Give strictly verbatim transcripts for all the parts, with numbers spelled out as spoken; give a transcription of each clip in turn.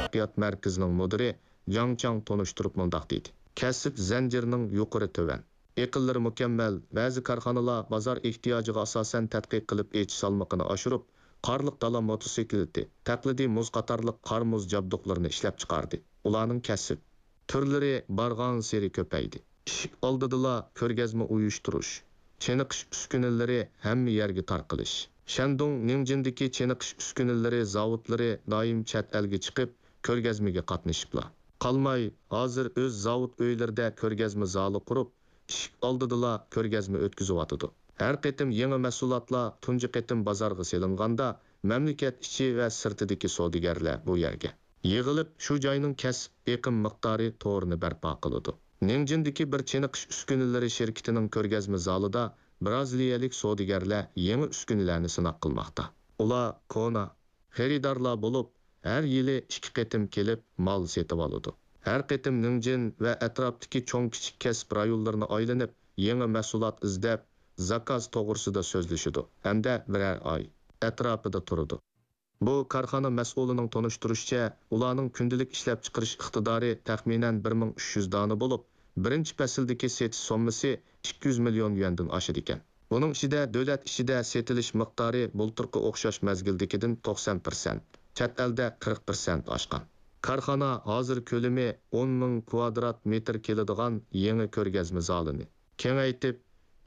تەرەققىيات مەركىزىنىڭ مۇدىرى جاڭ چاڭ تونۇشتۇرۇپ مۇنداق دېدى: كەسىپ زەنجىرىنىڭ يۇقىرى تۆۋەن ئېقىنلىرى مۇكەممەل، بەزى كارخانىلار بازار ئېھتىياجىغا ئاساسەن تەتقىق قىلىپ ئېچىش سالمىقىنى ئاشۇرۇپ، قارلىق دالا موتوسىكلىتى، تەقلىدىي مۇز قاتارلىق قار-مۇز جابدۇقلىرىنى ئىشلەپچىقاردى. ئۇلارنىڭ كەسىپ تۈرلىرى بارغانسېرى كۆپەيدى. ئىشىك ئالدىدىلا كۆرگەزمە ئۇيۇشتۇرۇش، چېنىقىش ئۈسكۈنىلىرى ھەممە يەرگە تارقىلىش. شەندۇڭ نىڭجىندىكى چېنىقىش ئۈسكۈنىلىرى زاۋۇتلىرى دائىم چەت ئەلگە چىقىپ، كۆرگەزمىگە قاتنىشىپلا قالماي، ھازىر ئۆز زاۋۇت ئۆيلىرىدە كۆرگەزمە زالى قۇرۇپ، ئىشىك ئالدىدىلا كۆرگەزمە ئۆتكۈزۈۋاتىدۇ. ھەر قېتىم يېڭى مەھسۇلاتلار تۇنجى قېتىم بازارغا سېلىنغاندا، مەملىكەت ئىچى ۋە سىرتىدىكى سودىگەرلەر بۇ يەرگە يىغىلىپ، شۇ جاينىڭ كەسىپ ئېقىم مىقدارى تورىنى بەرپا قىلىدۇ. نىڭجىندىكى بىر چېنىقىش ئۈسكۈنىلىرى شىركىتىنىڭ كۆرگەزمە زالىدا برازىلىيەلىك سودىگەرلەر يېڭى ئۈسكۈنىلەرنى سىناق قىلماقتا. ئۇلار كونا خېرىدارلار بولۇپ، ھەر يىلى ئىككى قېتىم كېلىپ مال سېتىۋالىدۇ. ھەر قېتىم نىڭجىن ۋە ئەتراپتىكى چوڭ-كىچىك كەسىپ رايونلىرىنى ئايلىنىپ، يېڭى مەھسۇلات ئىزدەپ، زاكاز توغرىسىدا سۆزلىشىدۇ ھەمدە بىرەر ئاي ئەتراپىدا تۇرىدۇ. بۇ كارخانا مەسئۇلىنىڭ تونۇشتۇرۇشىچە، ئۇلارنىڭ كۈندىلىك ئىشلەپچىقىرىش ئىقتىدارى تەخمىنەن بىر مىڭ ئۈچ يۈز دانە بولۇپ، بىرىنچى پەسىلدىكى سېتىش سوممىسى ئىككى يۈز مىليون يۈەندىن ئاشىدىكەن. بۇنىڭ ئىچىدە دۆلەت ئىچىدە سېتىلىش مىقدارى بۇلتۇرقى ئوخشاش مەزگىلدىكىدىن توقسان پىرسەنت، چەت ئەلدە قىرىق پىرسەنت ئاشقان. كارخانا ھازىر كۆلىمى ئون مىڭ كۋادرات مېتىر كېلىدىغان يېڭى كۆرگەزمە زالىنى كېڭەيتىپ،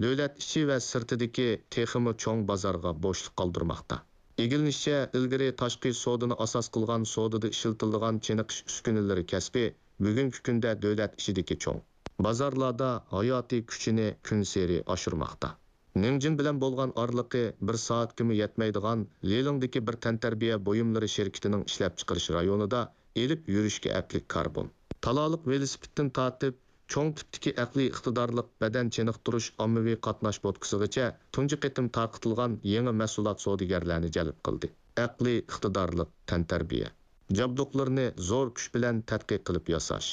دۆلەت ئىچى ۋە سىرتىدىكى تېخىمۇ چوڭ بازارغا بوشلۇق قالدۇرماقتا. ئىگىلىنىشىچە، ئىلگىرى تاشقى سودىنى ئاساس قىلغان سودىدا ئىشلىتىلىدىغان چېنىقىش ئۈسكۈنىلىرى كەسپى بۈگۈنكى كۈندە دۆلەت ئىچىدىكى چوڭ بازارلاردا ھاياتىي كۈچىنى كۈنسېرى ئاشۇرماقتا. نىڭجىن بىلەن بولغان ئارىلىقى بىر سائەتكىمۇ يەتمەيدىغان لىلىڭدىكى بىر تەنتەربىيە بۇيۇملىرى شىركىتىنىڭ ئىشلەپچىقىرىش رايونىدا ئېلىپ يۈرۈشكە ئەپلىك كاربون تالالىق ۋېلىسىپىتتىن تارتىپ، چوڭ تىپتىكى ئەقلىي ئىقتىدارلىق بەدەن چېنىقتۇرۇش ئاممىۋى قاتناش بوتكىسىغىچە تۇنجى قېتىم تارقىتىلغان يېڭى مەھسۇلات سودىگەرلەرنى جەلپ قىلدى. ئەقلىي ئىقتىدارلىق تەنتەربىيە جابدۇقلىرىنى زور كۈچ بىلەن تەتقىق قىلىپ ياساش،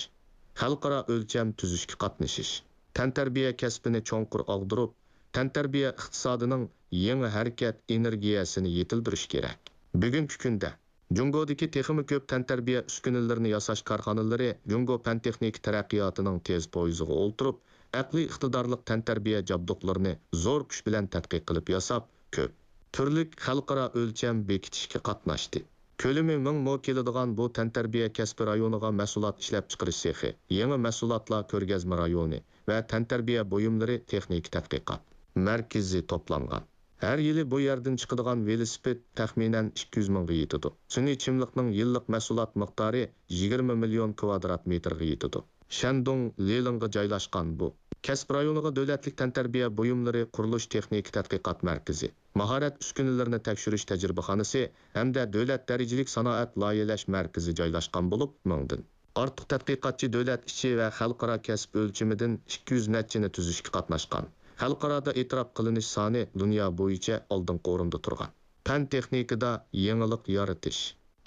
خەلقئارا ئۆلچەم تۈزۈشكە قاتنىشىش، تەنتەربىيە كەسپىنى چوڭقۇر ئاغدۇرۇپ، تەنتەربىيە ئىقتىسادىنىڭ يېڭى ھەرىكەت ئېنېرگىيەسىنى يېتىلدۈرۈش كېرەك. بۈگۈنكى كۈندە جۇڭگودىكى تېخىمۇ كۆپ تەنتەربىيە ئۈسكۈنىلىرىنى ياساش كارخانىلىرى جۇڭگو پەن-تېخنىكا تەرەققىياتىنىڭ تېز پويىزىغا ئولتۇرۇپ، ئەقلىي ئىقتىدارلىق تەنتەربىيە جابدۇقلىرىنى زور كۈچ بىلەن تەتقىق قىلىپ ياساپ، كۆپ تۈرلۈك خەلقئارا ئۆلچەم بېكىتىشكە قاتناشتى. كۆلىمى مىڭ مو كېلىدىغان بۇ تەنتەربىيە كەسپى رايونىغا مەھسۇلات ئىشلەپچىقىرىش سېخى، يېڭى مەھسۇلاتلار كۆرگەزمە رايونى ۋە تەنتەربىيە بۇيۇملىرى تېخنىكا تەتقىقات مەركىزى توپلانغان. ھەر يىلى بۇ يەردىن چىقىدىغان ۋېلىسىپىت تەخمىنەن ئىككى يۈز مىڭغا يېتىدۇ. سۈنئىي چىملىقنىڭ يىللىق مەھسۇلات مىقدارى يىگىرمە مىليون كۋادرات مېتىرغا يېتىدۇ. شەندۇڭ لىلىڭغا جايلاشقان بۇ كەسىپ رايونىغا دۆلەتلىك تەنتەربىيە بۇيۇملىرى قۇرۇلۇش تېخنىكا تەتقىقات مەركىزى، ماھارەت ئۈسكۈنىلىرىنى تەكشۈرۈش تەجرىبىخانىسى ھەمدە دۆلەت دەرىجىلىك سانائەت لايىھەلەش مەركىزى جايلاشقان بولۇپ، مىڭدىن ئارتۇق تەتقىقاتچى دۆلەت ئىچى ۋە خەلقئارا كەسىپ ئۆلچىمىدىن ئىككى يۈز نەچچىنى تۈزۈشكە قاتناشقان. خەلقئارادا ئېتىراپ قىلىنىش سانى دۇنيا بويىچە ئالدىنقى ئورۇندا تۇرغان. پەن-تېخنىكىدا يېڭىلىق يارىتىش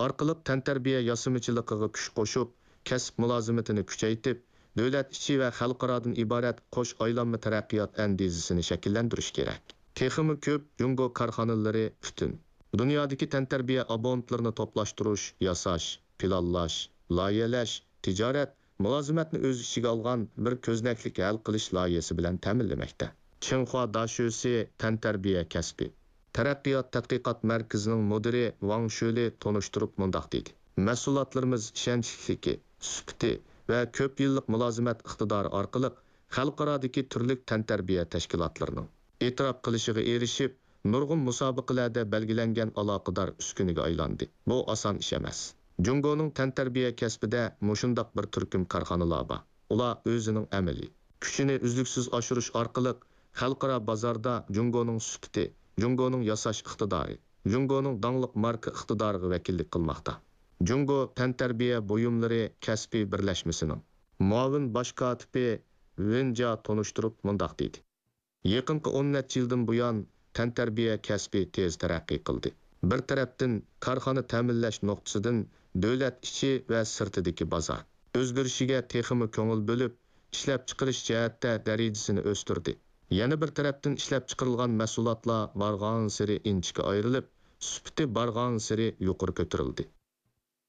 ئارقىلىق تەنتەربىيە ياسىمىچىلىقىغا كۈچ قوشۇپ، كەسىپ مۇلازىمىتىنى كۈچەيتىپ، دۆلەت ئىچى ۋە خەلقئارادىن ئىبارەت قوش ئايلانما تەرەققىيات ئەندىزىسىنى شەكىللەندۈرۈش كېرەك. تېخىمۇ كۆپ جۇڭگو كارخانىلىرى پۈتۈن دۇنيادىكى تەنتەربىيە ئابونتلىرىنى توپلاشتۇرۇش، ياساش، پىلانلاش، لايىھەلەش، تىجارەت، مۇلازىمەتنى ئۆز ئىچىگە ئالغان بىر كۆزنەكلىك ھەل قىلىش لايىھەسى بىلەن تەمىنلىمەكتە. چىڭخۇا داشۆسى تەنتەربىيە كەسپى تەرەققىيات تەتقىقات مەركىزىنىڭ مۇدىرى ۋاڭ شۆلى تونۇشتۇرۇپ مۇنداق دېدى: مەھسۇلاتلىرىمىز ئىشەنچلىكلىكى، سۈپىتى ۋە كۆپ يىللىق مۇلازىمەت ئىقتىدارى ئارقىلىق خەلقئارادىكى تۈرلۈك تەنتەربىيە تەشكىلاتلىرىنىڭ ئېتىراپ قىلىشىغا ئېرىشىپ، نۇرغۇن مۇسابىقىلەردە بەلگىلەنگەن ئالاقىدار ئۈسكۈنىگە ئايلاندى. بۇ ئاسان ئىش ئەمەس. جۇڭگونىڭ تەنتەربىيە كەسپىدە مۇشۇنداق بىر تۈركۈم كارخانىلار بار. ئۇلار ئۆزىنىڭ ئەمەلىي كۈچىنى ئۈزلۈكسىز ئاشۇرۇش ئارقىلىق خەلقئارا بازاردا جۇڭگونىڭ سۈپىتى، جۇڭگونىڭ ياساش ئىقتىدارى، جۇڭگونىڭ داڭلىق ماركا ئىقتىدارىغا ۋەكىللىك قىلماقتا. جۇڭگو تەنتەربىيە بۇيۇملىرى كەسپىي بىرلەشمىسىنىڭ مۇئاۋىن باش كاتىپى ۋېن جيا تونۇشتۇرۇپ مۇنداق دېدى: يېقىنقى ئون نەچچە يىلدىن بۇيان، تەنتەربىيە كەسپى تېز تەرەققىي قىلدى. بىر تەرەپتىن، كارخانا تەمىنلەش نۇقتىسىدىن دۆلەت ئىچى ۋە سىرتىدىكى بازار ئۆزگىرىشىگە تېخىمۇ كۆڭۈل بۆلۈپ، ئىشلەپچىقىرىش جەھەتتە دەرىجىسىنى ئۆستۈردى. يەنە بىر تەرەپتىن، ئىشلەپچىقىرىلغان مەھسۇلاتلار بارغانسېرى ئىنچىكە ئايرىلىپ، سۈپىتى بارغانسېرى يۇقىرى كۆتۈرۈلدى.